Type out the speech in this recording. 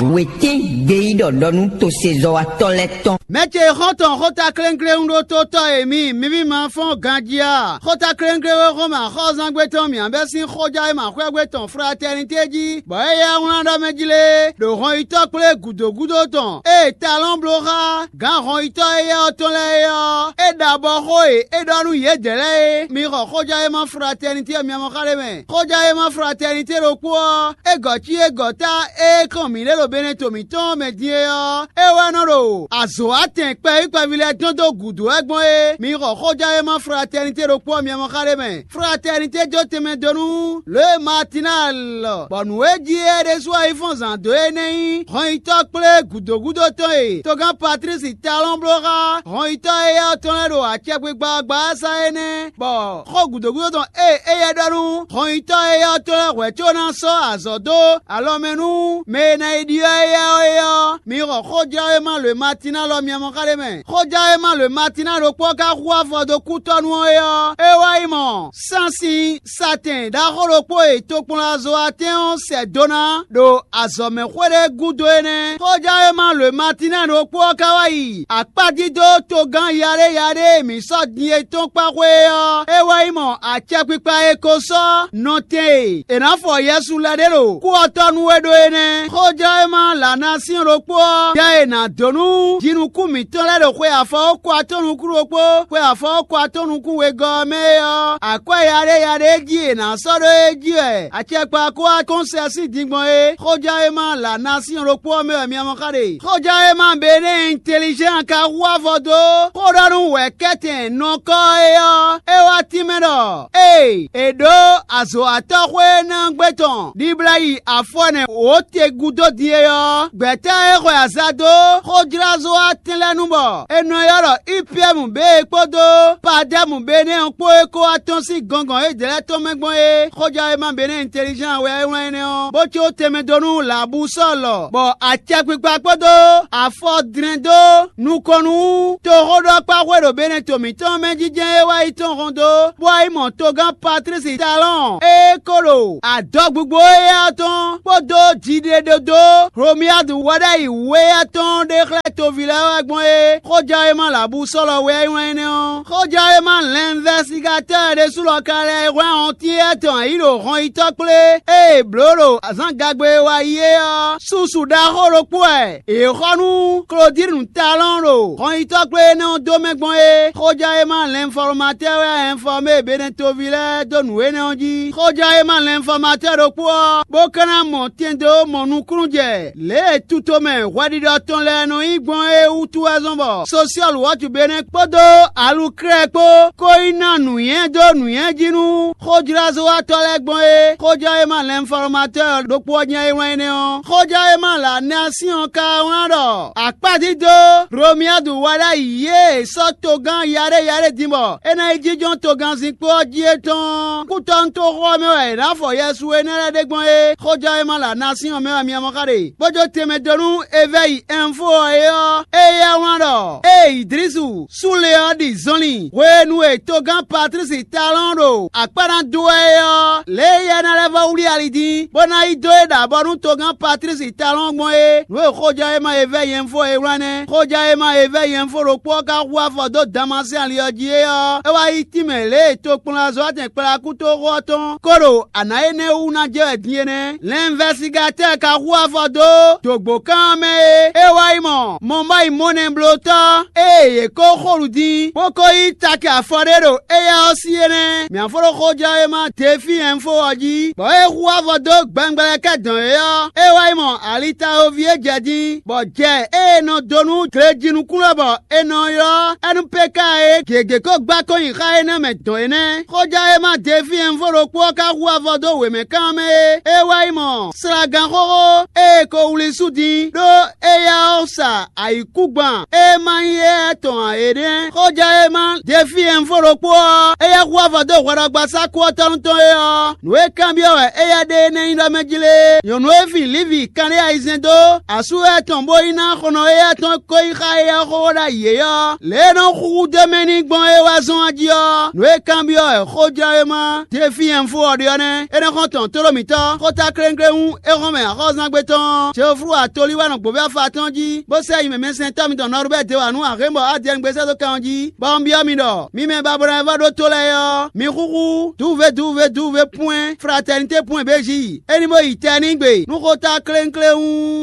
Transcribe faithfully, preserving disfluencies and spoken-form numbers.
Wětín gbeyíɖɔ ɖɔ nú tosezɔ́watɔ́ lɛ́ɛ tɔn. Mɛ ce xɔ́ntɔn xóta klénkléwún ɖó tó tɔ́ e mi, mi ví ma fɔ́n ganjí a? Xóta klénkléwún e xɔ́n mɛ axɔ́zángbé tɔn mǐ bɛ́ sín xójá e ma xwɛ́gbé tɔn fratɛ́nitɛ́ jí, bɔ é yá wlán ɖɔ mɛ jí lé, ɖo hɔnyitɔ́ kplé gǔdo gúdo tɔn e talɔ́n bló xá gǎn hɔnyitɔ́ éyɛ́ ɔ́ tɔn lɛ́ɛ é ɔ́, é ɖa bɔ xó e é ɖɔ nú yědɛɛ lɛ́ɛ é, mi xɔ xójá e ma fratɛ́nitɛ́ miamɔ xá ɖé mɛ. Xójá e ma fratɛ́nitɛ́ ɖokpó ɔ́, é gɔ̌ cí é gɔ̌ ta e kɔn mǐ ɖe ɖo Beneto mǐtɔn ɔ́ mɛ din é ɔ́, é wɛ nɔ ɖo azɔ̌ atɛn kpɛví kpɛví lɛ́ɛ dɔn dó gǔdo wɛ gbɔn é. Mi xɔ xójá e ma fratɛ́nitɛ́ ɖokpó ɔ́ miamɔ xá ɖé mɛ. Fratɛ́nitɛ́ jó tɛnmɛ dó nú lě e Matinal, bɔ nǔ e jí é ɖésú wɛ yi fɔ́n zǎn dó é nɛ́ nyí hɔnyitɔ́ kplé gǔdo gúdo tɔn e togán Patlísi Talɔ́n bló xá hɔnyitɔ́ éyɛ́ ɔ́ tɔn lɛ́ɛ ɖo acɛkpikpa ɔ́ gbá ɔ́ sá é nɛ́, bɔ xó gǔdo gúdo tɔn e éyɛ́ ɖɔ nú hɔnyitɔ́ éyɛ́ ɔ́ tɔn lɛ́ɛ hwɛ̌ có ná sɔ́ azɔ̌ dó alɔ mɛ nú mɛ e ná yi ɖyɔ́ éyɛ́ ɔ́ é ɔ́, mi xɔ xójɛ́wéma lwěmatín alɔ miamɔ xá ɖé mɛ. Xójɛ́wéma lwěmatín ɖokpó ɔ́ ka hu afɔ dó kútɔ́nu ɔ́ é ɔ́, é wá yi mɔ sánsin satɛn ɖaxó ɖokpó e tokpɔnlazo atɛ́n ɔ́ sɛ do ná ɖo azɔ̌mɛxwé ɖé gúdo é nɛ́. Xójɛ́wéma lwěmatín ɖokpó ɔ́ ka wá yi akpájí dó togán yaɖéyaɖé e mǐ sɔ́ din é tɔn kpá xwé é ɔ́, é wɛ nyí mɔ acɛkpikpa e ko sɔ́ nɔtɛn e è nǎ fɔ Yɛsu lɛ́ ɖe ɖo kú ɔ́ tɔ́ nú é ɖó é nɛ́. Xójɛ́wéma Lanasín ɖokpó ɔ́, jɛ e è nǎ dó nú jinukún mǐtɔn lɛ́ɛ ɖo xwe afɔwókɔ atɔ́ nukún ɖokpó, xwe afɔwókɔ atɔ́ nukún wegɔ́ ɔ́ mɛ é ɔ́, akwɛ́ yaɖéyaɖé jí è nǎ sɔ́ ɖó é jí wɛ acɛkpa kó wá kɔn sɛ sín din gbɔn é. Xójɛ́wéma Lanasín ɖokpó ɔ́ mɛ wɛ mi mɔ xá ɖe. Xójɛ́wéma Benɛ́ɛ Intelizɛ́n ka hu avɔ dó xó ɖɔ nú wɛ̌kɛ́tɛn nɔkɔ́ é ɔ́, é wá tínmɛ ɖɔ: Ée è ɖǒ azɔ̌watɔ́ xwé énɛ́ ɔ́ gbé tɔn ɖibla yi afɔnɛ wǒ te gúdo din é ɔ́, gbɛ̌ta e xwe aza dó xójlázɔ́ atɛn lɛ́ɛ nu bɔ è nɔ ylɔ́ ɖɔ Ipiyɛ́mu běe kpódó Padɛ́mu Benɛ́ɛ ɔ́ kpó é kó wá tɔ́n sín gɔngɔn yědɛɛ lɛ́ɛ tɔn mɛ gbɔn é. Xójɛ́wéma Benɛ́ɛ Intelizɛ́n wɛ é wlán énɛ́ ɔ́, bó có tɛnmɛ dó nú Labusɔ́lɔ, bɔ acɛkpikpa kpódó afɔ dlɛ́n dó nukɔn nú toxóɖɔkpáxwé ɖo Beneto mǐtɔn mɛ jínjɛ́n e wá yi tɔn hɔn dó, bó wá yi mɔ togán Patlísi Talɔ́ɔn e ko ɖo adɔgbugbo éyɛ́ ɔ́ tɔn kpódó jiɖeɖodó Hlomiyadu wɛ ɖ'ayǐ wú éyɛ́ tɔn ɖe xlɛ́ toví lɛ́ɛ wɛ gbɔn é. Xójɛ́wéma Labusɔ́lɔ wɛ é wlán énɛ́ ɔ́. Xójɛ́wéma Lɛnvɛsigatɔ́ ɖésú lɔ ka lɛ́ hwlɛ́n ɔ́ntín étɔn ayǐ ɖo hɔnyitɔ́ kplé e è blǒ ɖo azǎngagbe e wá yi é ɔ́, susu ɖaxó ɖokpó wɛ è xɔ nú Klodínu Talɔ́ɔn ɖo hɔnyitɔ́ kplé énɛ́ ɔ́ dó mɛ gbɔn é. Xójɛ́wéma Lɛnfɔlɔmatɛ́ wɛ ɛnfɔmé Beneto ví lɛ́ɛ dó nǔ énɛ́ ɔ́ jí. Xójɛ́wéma Lɛnfɔlɔmatɛ́ ɖokpó ɔ́, bó ka ná mɔ tɛn dó mɔ nukúnnú jɛ lě e tutomɛ hwɛɖiɖɔ tɔn lɛ́ɛ nɔ nyí gbɔn é wútu wɛ zɔ́n bɔ Sosiɔ́lu Wɔ̌tu Benɛ́ɛ kpódó Aluklɛ́ɛ kpó ko yi ná nǔnywɛ́ dó nǔnywɛ́ jí nú xójlázɔ́watɔ́ lɛ́ɛ gbɔn é. Xójɛ́wéma Lɛnfɔlɔmatɛ́ ɖokpó ɔ́ jɛ́n é wlán énɛ́ ɔ́. Xójɛ́wéma Lanasín ɔ́ ka wlán ɖɔ akpájí dó Hlomiyadu wɛ ɖ'ayǐ e è sɔ́ togán yaɖéyaɖé din bɔ é ná yi jínjɔ́n togánzinkpo ɔ́ jí é tɔn kútɔ́nútoxo ɔ́ mɛ wɛ è nǎ fɔ Yɛsu énɛ́ lɛ́ɛ ɖe gbɔn é. Xójɛ́wéma Lanasín ɔ́ mɛ wɛ mi mɔ xá ɖe. Bó jó tɛnmɛ dó nú Evɛ́yi Ɛnfo ɔ́ é ɔ́, éyɛ́ wlán ɖɔ: Ée Idlísu súnle ɔ́ ɖi zɔnlin hwenu e togán Patlísi Talɔ́ɔn ɖo akpá ná dó wɛ é ɔ́, lě e éyɛ́ ná lɛ́ vɔ́ wlí ali dín, bó ná yi dó é ɖo abɔ nú togán Patlísi Talɔ́ɔn gbɔn é. Nǔ e xójɛ́wéma Evɛ́yi Ɛnfo e wlán nɛ́. Xójɛ́wéma Evɛ́yi Ɛnfo ɖokpó ɔ́ ka hu afɔ dó Damasín ali ɔ́ jí é ɔ́, é wá yi tínmɛ lě e tokplɔ́nzɔ́watɛn kplakútoxo ɔ́ tɔn ko ɖo anǎ énɛ́ wú ná jɛ wɛ din é nɛ́. Lɛnvɛsigatɛ́ ka hu afɔ dó dǒgbokán ɔ́ mɛ é. É wá yi mɔ mɔmɔ́yi mɔnɛblótɔ́ e yě ko xo nǔ dín, bó ko yí taki afɔ ɖé ɖo éyɛ́ ɔ́ sí é nɛ́. Mǐ fó ɖó xójɛ́wéma Defi Ɛnfo ɔ́ jí, bɔ é hu avɔ dó gbɛngbɛlɛkɛ́ dɔn é ɔ́, é wá yi mɔ alitawoví e jɛ din, bɔ jɛ e è nɔ dó nú glejinukúnlɔ bɔ è nɔ ylɔ́ Ɛnupeka é gěgé ko gbá kɔn nyi xá énɛ́ mɛ dɔn é nɛ́. Xójɛ́wéma Defi Ɛnfo ɖokpó ɔ́ ka hu avɔ dó wěmɛkán ɔ́ mɛ é. É wá yi mɔ slagán xóxó e è ko wlí sú din ɖó éyɛ́ ɔ́ sa ayǐkúngban e ma nyí éyɛ́ tɔn ǎ é nɛ́. Xójɛ́wéma Defi Ɛnfo ɖokpó ɔ́, éyɛ́ hu avɔ dó hwɛɖɔgbasá kú ɔ́ tɔ́ nú tɔn é ɔ́, nǔ e kanbyɔ́ wɛ éyɛ́ ɖe énɛ́ nyí ɖɔ mɛ jlé. Nyɔ̌nu e fin Livi kanɖé ayizɛ́n dó asú éyɛ́ tɔn bó yi ná xɔnɔ éyɛ́ tɔn ko yi xá éyɛ́ xóxó ɖ'ayǐ é ɔ́, lě e nɔ xúxú dó mɛ n'i gbɔn é wá zɔ́n ɔ́ jí ɔ́, nǔ e kanbyɔ́ wɛ xójɛ́wéma Defi Ɛnfo ɔ́ ɖe ɔ́ nɛ́. É nɔ xɔ́n tɔn tlóló mǐtɔn, xóta klénkléwún é hɔn mɛ axɔ́zángbé tɔn. Flú atolí wɛ nɔ gbǒví afa atɔ́ɔ́n jí, bó sɛ́ nyi mɛmɛsɛntɔ́ mitɔn Nɔrubɛ́ dó wá nú Ahémɔ Adiyɛ́ngbésɛ́ dó kɛn ɔ́ jí, bɔ un byɔ́ mi ɖɔ: mi mɛ babɔnɔ e vɔ́ ɖótó lɛ́ɛ ɔ́, mi xúxú duve duve duve pwɛ́n fratɛnité pwɛ́n béjí, é ní bó yi tɛ n'i gbe nú xóta klénkléwún.